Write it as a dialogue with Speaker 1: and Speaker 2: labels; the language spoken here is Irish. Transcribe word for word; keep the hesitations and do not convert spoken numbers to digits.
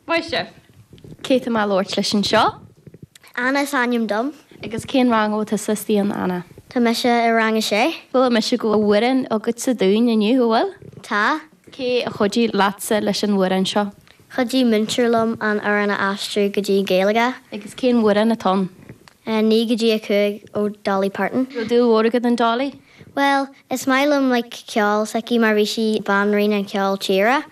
Speaker 1: Maith sibh. Cé tá mé ag labhairt leis anseo?
Speaker 2: Anna is ainm dom.
Speaker 1: Agus cén rang atá tusa istigh Anna?
Speaker 2: Tá mise i rang a sé.
Speaker 1: Chuala mise go bhfuil amhrán agatsa dúinn inniu bhfuil?
Speaker 2: Tá.
Speaker 1: Cé a chuidigh leatsa leis an amhrán seo?
Speaker 2: Chuidigh múinteoir liom an amhrán a aistriú go dtí Gaeilge.
Speaker 1: Agus cén amhrán atá ann?
Speaker 2: Naoi go dtí a cúig ó Dolly Parton.
Speaker 1: Dúil mhór agat in Dolly?
Speaker 2: Well, is maith liom like, ceol s'aici mar bhí sí banríon an ceol tíre.